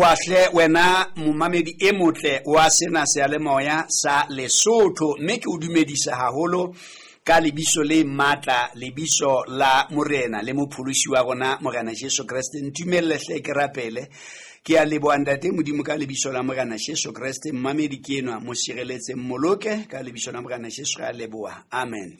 leboha hle wena momamedi e motle wa sena seyalemoya sa Lesotho, mme ke o dumedisa haholo ka lebiso le matla, lebiso la Morena le Mopholosi wa rona Morena Jesu Kreste. Ntumelle hle ke rapele. Ke a leboha Ntate Modimo ka lebiso la Morena Jesu Kreste. Mmamedi ke enwa, mo sireletse, mmoloke ka lebiso la Morena Jesu, re a leboha, amen.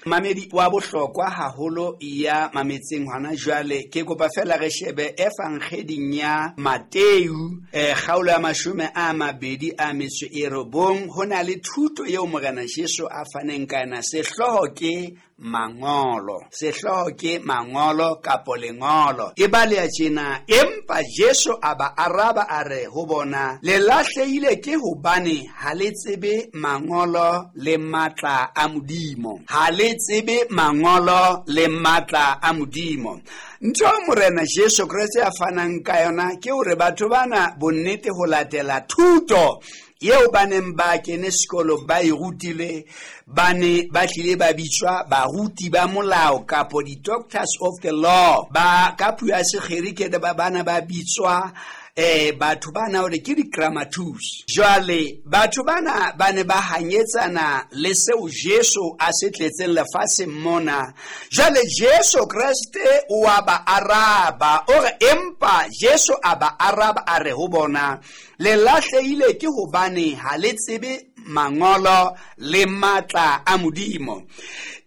Mamedi wa bohlokwa haholo ya mametseng hona jwale, ke kopa fela re shebe evangeding ya Mateu, kgaolo ya 29. Ho na le thuto eo Morena Jesu a faneng ka yona. Sehlooho ke mangolo, sehlooho ke mangolo kapo lengolo. E baleha tjena: empa Jesu a ba araba a re ho bona, le lahlehile ke hobane ha le tsebe mangolo le matla a Modimo. Ha le tsebe mangolo le matla a Modimo. Ntho eo Morena Jesu Kreste a fanang ka yona ke hore batho bana bonnete ho latela thuto eo ba neng ba kene sekolo ba e rutile, ba ne ba tlile ba bitswa baruti ba molao kapo di-doctors of the law. Ba ka puo ya Segerike ba bana ba bitswa batho bana hore ke di-grammatus. Jwale batho bana ba ne ba hanyetsana le seo Jesu a se tletseng lefatsheng mona. Jwale Jesu Kreste o a ba araba, o re empa Jesu a ba araba a re ho bona, le lahlehile ke hobane ha le tsebe mangolo le matla a Modimo.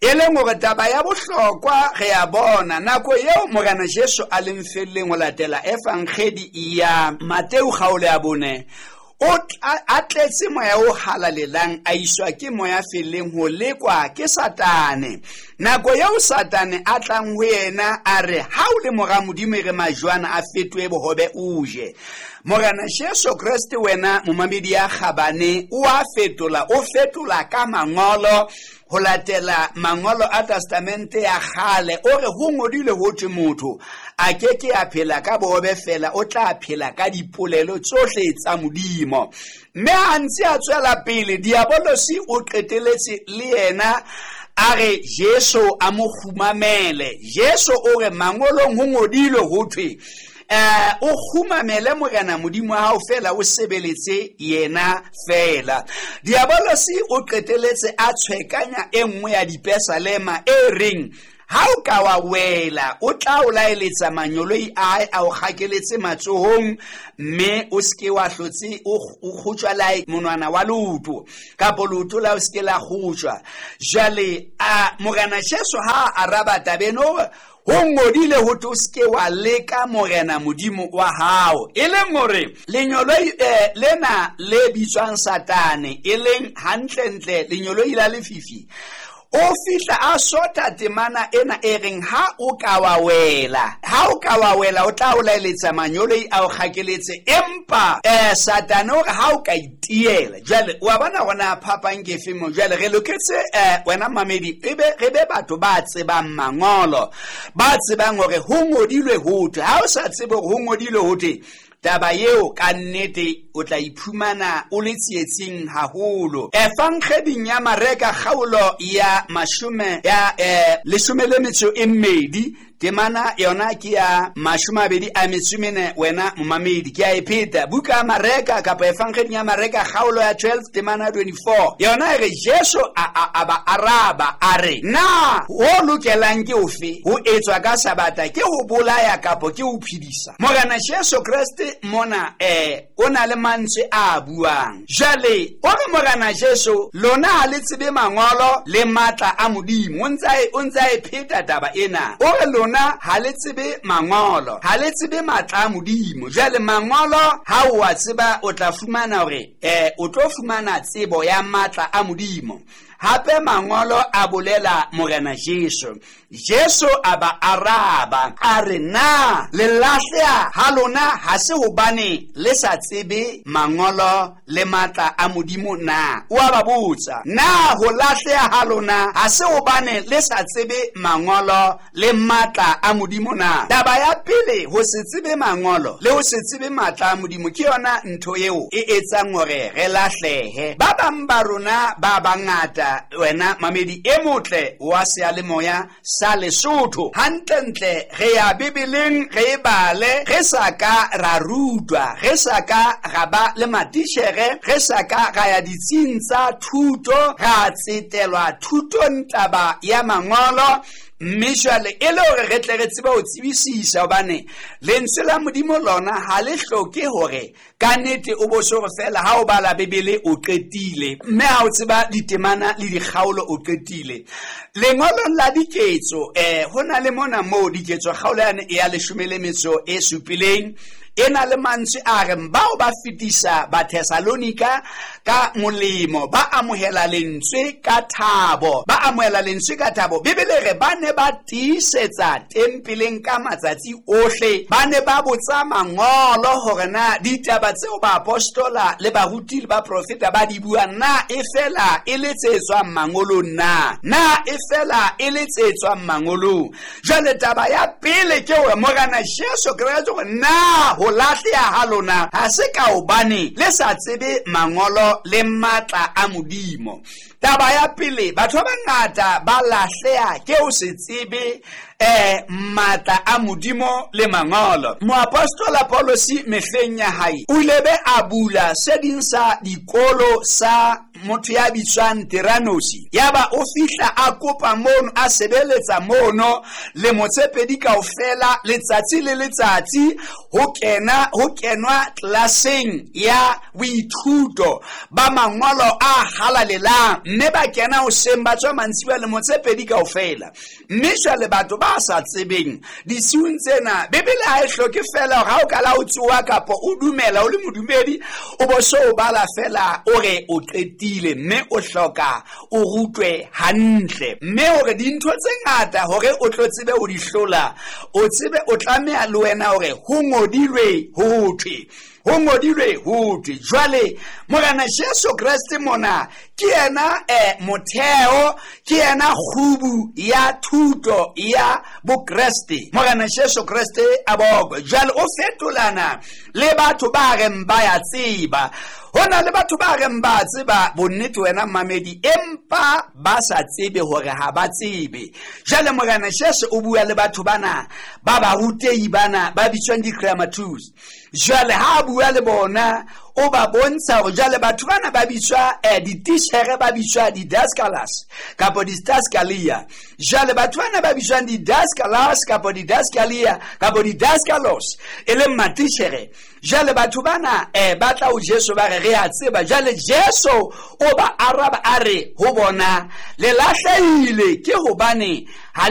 E leng hore taba ya bohlokwa re a bona nako eo Morena Jesu a leng felleng ho latela evangedi ya Mateu kgaolo ya 4, o a tletse moya o halalelang, a iswa ke moya felleng ho lekwa ke Satane. Nako eo Satane a tlang ho yena a re, ha o le mora Modimo, e re majwana a fetohe bohobe o je. Morena Jesu Kreste wena momamedi ya kgabane o a fetola, o fetola ka mangolo ho latela mangolo a testamente ya kgale. O re ho ngodilwe ho thwe motho a ke ke a phela ka bohobe fela, o tla phela ka dipolelo tsohle tsa Modimo. Mme ha ntse a tswela pele, Diabolosi o qeteletse le yena a re Jesu a mo kgumamele. Jesu o re mangolong ho ngodilwe ho thwe o kgumamele Morena Modimo wa hao fela, o sebeletse yena fela. Diabolosi o qeteletse a tshwekanya e nngwe ya dipesalema e reng, ha o ka wa wela, o tla o laeletsa manyoloi a hae a o kgakeletse matsohong, mme o seke wa hlotse o kgotjwa la monwana wa leoto, kapo leoto la o seke la kgotjwa. Jwale a Morena Jesu ha a araba tabeng, o re ho ngodile ho thwe o seke wa leka Morena Modimo wa hao. E leng hore lenyoloi lena le bitswang Satane, e leng hantlentle lenyoloi la lefifi, o fihla a sotha temana ena e reng ha o ka wa wela, ha o ka wa wela o tla o laeletsa manyoloi a o kgakeletse. Empa Satane o re ha o ka itiela. Jwale wa bona hore phapang ke efe mo. Jwale re loketse wena mamedi, ebe re be batho ba tsebang mangolo, ba tsebang hore ho ngodilwe ho thwe. Ha o sa tsebe hore ho ngodilwe ho thwe, taba eo ka nnete o tla iphumana o le tsietsing haholo. Evangeding ya Mareka kgaolo ya 12, temana yona ke ya 24, wena momamedi ke a e pheta. Buka ya Mareka kapa evangeding ya Mareka kgaolo ya 12 temana 24, yona e re Jesu a ba araba a re, na ho lokelang ke ofe ho etswa ka Sabata, ke ho bolaya kapo ke ho phedisa? Morena Jesu Kreste mona o na le mantswe a buang. Jwale o re Morena Jesu, lona ha le tsebe mangolo le matla a Modimo. O ntse a e pheta taba ena. O re lona ha le tsebe mangolo, ha le tsebe matla a Modimo. Jwale mangolo ha o a tseba, o tla fumana hore o tlo fumana tsebo ya matla a Modimo. Hape mangolo a bolela Morena Jesu. Jesu a ba araba a re, na le lahleha ha lona ha se hobane le sa tsebe mangolo le matla a Modimo na? O a ba botsa, na ho lahleha ha lona ha se hobane le sa tsebe mangolo le matla a Modimo na? Taba ya pele, ho se tsebe mangolo le ho se tsebe matla a Modimo ke yona ntho eo e etsang hore re lahlehe. Ba bang ba rona ba bangata ngata wena mamedi e motle wa seyalemoya sa Lesotho. Hantlentle re ya Bibeleng re e bale, re sa ka ra rutwa, re sa ka ra ba le matitjhere, re sa ka ra ya ditsing tsa thuto, ra tsetelwa thutong taba ya mangolo. Mme jwale e le hore re tle re tsebe ho tsebisisa, hobane lentswe la Modimo lona ha le hloke hore ka nnete o bo so re fela ha o bala Bibele o qetile, mme ha o tseba ditemana le dikgaolo o qetile. Lengolong la Diketso ho na le mona moo Diketso kgaolo yane ya 17 e na le mantswe a reng bao ba fetisa Bathesalonika ka molemo, ba amohela lentswe ka thabo, ba amohela lentswe ka thabo. Bibele re ba ne ba tiisetsa tempeleng ka matsatsi ohle, ba ne ba botsa mangolo hore na ditaba tseo baapostola le baruti le baprofeta ba di buang na e fela e le tse tswang mangolong na, na e fela e le tse tswang mangolong. Jwale taba ya pele ke hore Morena Jesu Kreste hore na ho lahleha ha lona ha se ka hobane le sa tsebe mangolo le matla a Modimo. Taba ya pele, batho ba bangata ba lahleha ke ho se tsebe matla a Modimo le mangolo. Moapostola Paulosi mehleng ya hae o ile be a bula se ding sa dikolo sa motho ya bitswang Tiranosi. Yaba o fihla a kopa mono, a sebeletsa mono lemo tse pedi kaofela, letsatsi le letsatsi ho kena ho kenwa tlelaseng ya boithuto ba mangolo a halalelang, mme ba kena hoseng ba tswa mantsibuya lemo tse pedi kaofela. Mme jwale batho ba sa tsebeng disiung tsena, Bibele ha e hloke fela hore ha o kala o tsoha kapa o dumela o le modumedi o bo so o bala fela o re o qetile, mme o hloka o rutwe hantle. Mme hore dintho tse ngata hore o tlo tsebe ho di hlola, o tsebe o tlameha le wena hore ho ngodilwe ho thwe, ho ngodilwe ho thwe. Jwale Morena Jesu Kreste mona ke yena motheo, ke yena kgubu ya thuto ya Bokreste. Morena Jesu Kreste a bokwe. Jwale o fetolana le batho ba reng ba ya tseba. Ho na le batho ba reng ba tseba bonnete wena mamedi, empa ba sa tsebe hore ha ba tsebe. Jwale Morena Jesu o bua le batho bana ba barutehi bana ba bitswang di-grammatus. Jwale ha a bua le bona o ba bontsha hore jwale batho bana ba bitswa dititjhere, ba bitswa di-daskalas kapa di-daskalia. Jwale batho bana ba bitswang di-daskalas kapa di-daskalia kapa di-daskalos e leng matitjhere. Jwale batho bana ba tla ho Jesu ba re re a tseba. Jwale Jesu o ba araba a re ho bona, le lahlehile ke hobane ha